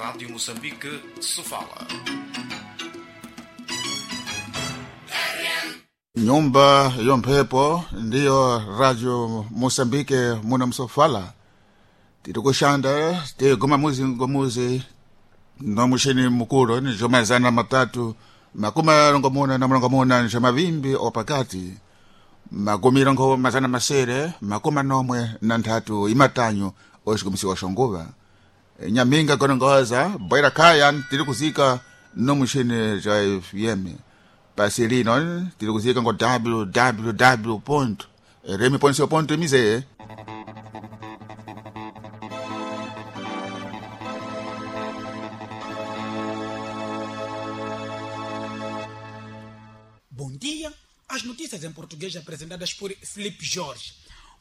Rádio Moçambique, Sofala. Nyumba yomphepo ndiyo Radio Moçambique muno msofala tiri kuxanda tiguma muzi ngomuzi nomuxini mukulu ni jomazana matatu 340 na 40 ni mavimbi opakati 243 43 imatanyu oxikumisiwa xonguva nyaminga konongoza boira kaya tiri kuzika nomuxini ja fm pasi lino tiri kuzika ngo www ponto remi ponto ponto mz. Bom dia. As notícias em português apresentadas por Felipe Jorge.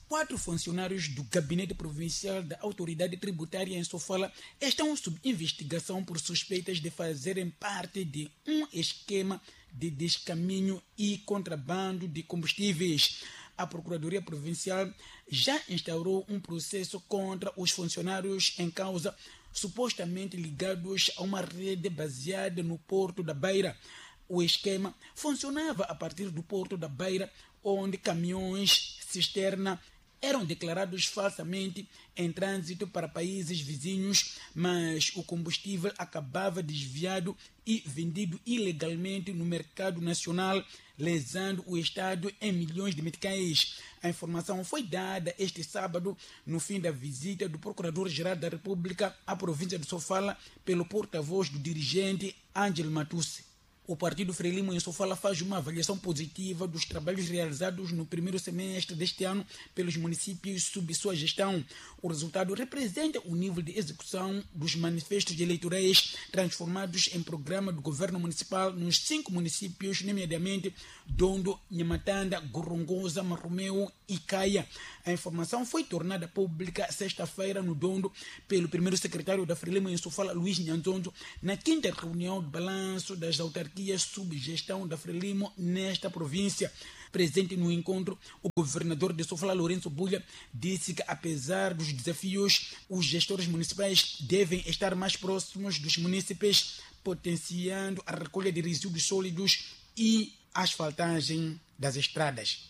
4 funcionários do Gabinete Provincial da Autoridade Tributária em Sofala estão sob investigação por suspeitas de fazerem parte de um esquema de descaminho e contrabando de combustíveis. A Procuradoria Provincial já instaurou um processo contra os funcionários em causa, supostamente ligados a uma rede baseada no Porto da Beira. O esquema funcionava a partir do Porto da Beira, onde caminhões cisterna eram declarados falsamente em trânsito para países vizinhos, mas o combustível acabava desviado e vendido ilegalmente no mercado nacional, lesando o Estado em milhões de meticais. A informação foi dada este sábado no fim da visita do Procurador-Geral da República à província de Sofala pelo porta-voz do dirigente Ângelo Matusse. O Partido Frelimo em Sofala faz uma avaliação positiva dos trabalhos realizados no primeiro semestre deste ano pelos municípios sob sua gestão. O resultado representa o nível de execução dos manifestos eleitorais transformados em programa do governo municipal nos 5 municípios, nomeadamente Dondo, Nhamatanda, Gorongosa, Marromeu e Caia. A informação foi tornada pública sexta-feira no Dondo pelo primeiro secretário da Frelimo em Sofala, Luís Nhanzonzo, na quinta reunião de balanço das autarquias sob gestão da Frelimo nesta província. Presente no encontro, o governador de Sofala, Lourenço Bulha, disse que, apesar dos desafios, os gestores municipais devem estar mais próximos dos munícipes, potenciando a recolha de resíduos sólidos e a asfaltagem das estradas.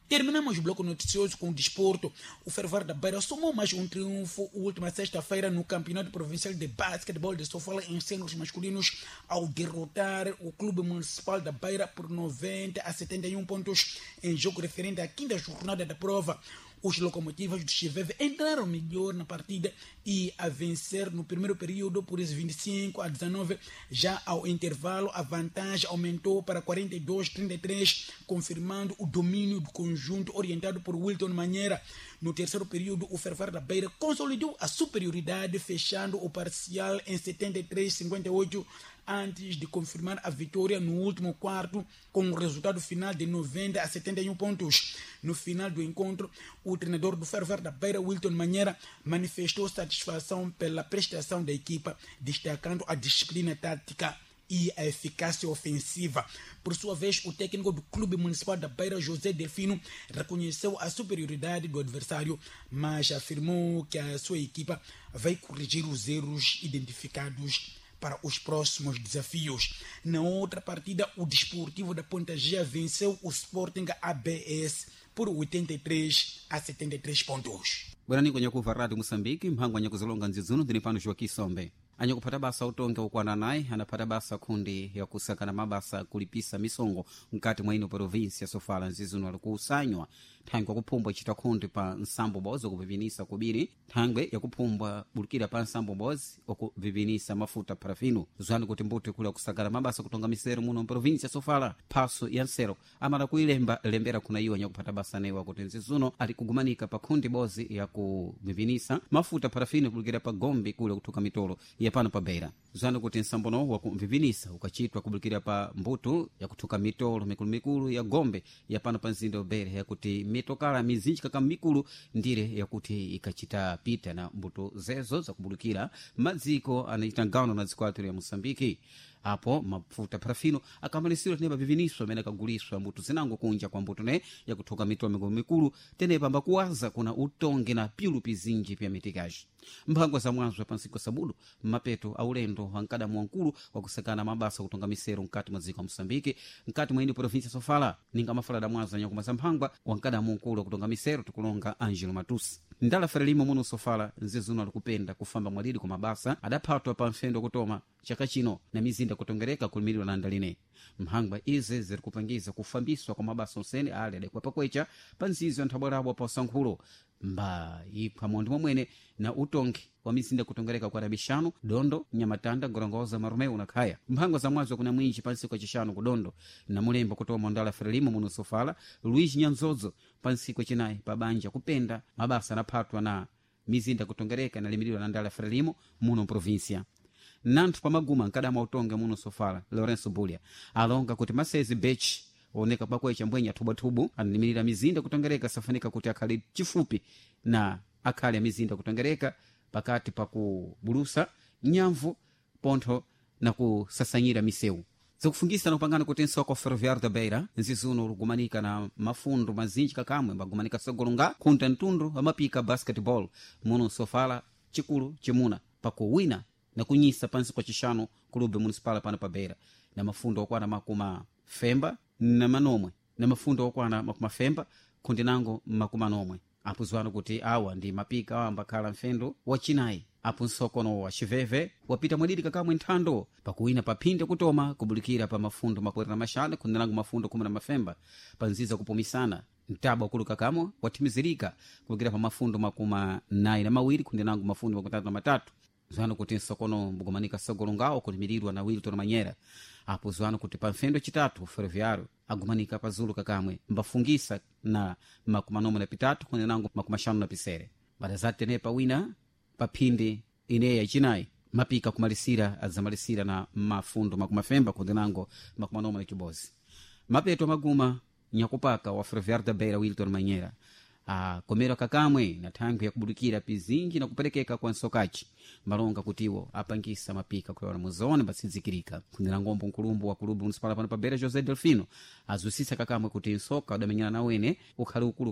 Terminamos o bloco noticioso com o desporto. O Ferroviário da Beira somou mais um triunfo última sexta-feira no Campeonato Provincial de Basquetebol de Sofala em sêniores masculinos, ao derrotar o Clube Municipal da Beira por 90-71 pontos em jogo referente à quinta jornada da prova. Os locomotivas do Chiveve entraram melhor na partida e a vencer no primeiro período por 25-19. Já ao intervalo, a vantagem aumentou para 42-33, confirmando o domínio do conjunto orientado por Wilton Manheira. No terceiro período, o Ferroviário da Beira consolidou a superioridade, fechando o parcial em 73-58, antes de confirmar a vitória no último quarto, com o resultado final de 90-71 pontos. No final do encontro, o treinador do Ferroviário da Beira, Wilton Manheira, manifestou satisfação pela prestação da equipa, destacando a disciplina tática e a eficácia ofensiva. Por sua vez, o técnico do Clube Municipal da Beira, José Delfino, reconheceu a superioridade do adversário, mas afirmou que a sua equipa vai corrigir os erros identificados para os próximos desafios. Na outra partida, o Desportivo da Ponta Gea venceu o Sporting ABS por 83-73 pontos. Bwerani kwenye Rádio Moçambique, mphangwa nyakuzilonga nzizuno ndini pano Joaquim Sombe. Anyakuphata basa utongi ukwana naye anaphata basa khundi yakusakana mabasa kulipisa misongo mkati mwa ino província Sofala nzizuno ali kuusanywa thangwe yakuphumbwa icita khundi pa nsambo bozi okupipinisa kubiri thangwe yakuphumbwa bulukira pa nsambo bozi okupipinisa mafuta parafino zwani kuti mbuto ikulu yakusakana mabasa kutonga misero muno mprovíncia Sofala phaso ya nsero amala kuilemba lembera kuna iwo anyakuphata basa newa kuti nzizuno ali kugumanika pa khundi bozi yakupipinisa mafuta parafino kulukira pa gombe kule kuthuka mitolo yapano pa beira zanu kuti nsambono wakumvipinisa ukachitwa kubulukira pa mbuto yakuthuka mitolo mikulumikulu ya gombe yapano pa mzinda wa beira yakuti mitokala mizinji kaka mikulu ndire yakuti ikachita pita na mbuto zezo zakubulukira madziko anachita gano na dziko athu ya moçambike. Apo mafuta parafino akamalisirwa tenepa viviniswa amene akaguliswa mbuto zinango kunja kwa mbuto ne yakuthoka mitulo mikulu tenepa ambakuwaza kuna utongi na pyulu pizinji pya mitikaji. Mphangwa za mwanzo pa nsiku sabudu mmapeto a ulendo wa mkadamu wankulu wakusakana mabasa kutonga misero mkati mwa dziko la Moçambique, mkati mwa ino província Sofala. Ninga mafala da mwanzo anyakuma za mphangwa wa mkadamu wankulu wakutonga misero tikulonga Angelo Matusi. Ndala Frelimo muno Sofala nzizuno alikupenda kufamba mwalidi kwa mabasa adaphatwa pa mfendo kutoma chaka chino na mizinda kutongereka kulimirirwa na ndaline. Mphangwa izi zirikupangiza kufambiswa kwa mabasa onsene ali adakwa pakwecha pa nzizi ya nthabwarabwa pa usankhulo mba ipha mondi momwene na utongi wa mizinda kutongereka kwa Rabixano, Dondo, Nyamatanda, Gorongosa, Marumeu na Khaya. Mphangwa za mwazo kuna mwinji pansiku yacixanu ku Dondo na Mulembo kutoma ndala Frelimo muno Sofala Luiz Nyanzozo pansiku yacinayi pa banja kupenda mabasa anaphatwa na mizinda kutongereka nalimirirwa na ndala Frelimo muno província. Nanthu pamaguma nkadama utonge muno Sofala Lourenço Bulia alonga kuti masezi bech oneka pakwecha mbwenya thubwathubu analimirira mizinda kutongereka safanika kuti akhale chifupi na akhale amizinda kutongereka pakati pakubulusa nyamvu pontho na kusasanyira misewu. Zikufungisa na kupangana kuti nsoko ferroviário da Beira nzizuno lugumanika na mafundo mazinji kakamwe mbagumanika sogolonga khunta mtundu amapika basketball muno Sofala chikulu chimuna pakuwina na kunyisa pansi kwa chixanu kulube municipal pano pa Beira na mafundo okwana makuma femba na manomwe na mafundo okwana makuma femba khundi nango makuma nomwe. Apuzwano kuti awa ndi mapika awa ambakhala mfendo wacinayi. Apo nsokono wa xiveve wapita mwadidi kakamwe nthando pakuwina paphinde kutoma kubulikira pa mafundo makwera na maxanu khundi nango mafundo khumi na mafemba pa nziza kupumisana. Mtabo wakulu kakamwe wathimizirika kubulikira pa mafundo makuma nayi na mawiri khundi nango mafundo makumi tatu na matatu. Zwano kuti nsokono mbugumanika sogolo ngawo kulimirirwa na Wilton Manyera. Apo zwano kuti pa mfendo chitatu ferroviário agumanika pazulu kakamwe mbafungisa na makumi anomwe na pitatu khundi nango makumi axanu na pisere. Bada zati tenepa wina paphindi ineyi yacinayi mapika kumalisira adzamalisira na mafundo makumi afemba khundi nango makumi anomwe na chibozi. Mapeto maguma nyakupaka wa Ferroviário da Beira Wilton Manyera akomera kakamwe na thangwi yakubulikira pizinji na kuperekeka kwa nsokaci malonga kutiwo apangisa mapika kulewana muzone mbatsidzikirika. Kundira ngombo nkulumbu wa kulubu municipal pano pa Beira José Delfino azwisisa kakamwe kuti nsoka udamenyana na wene ukhali ukulu.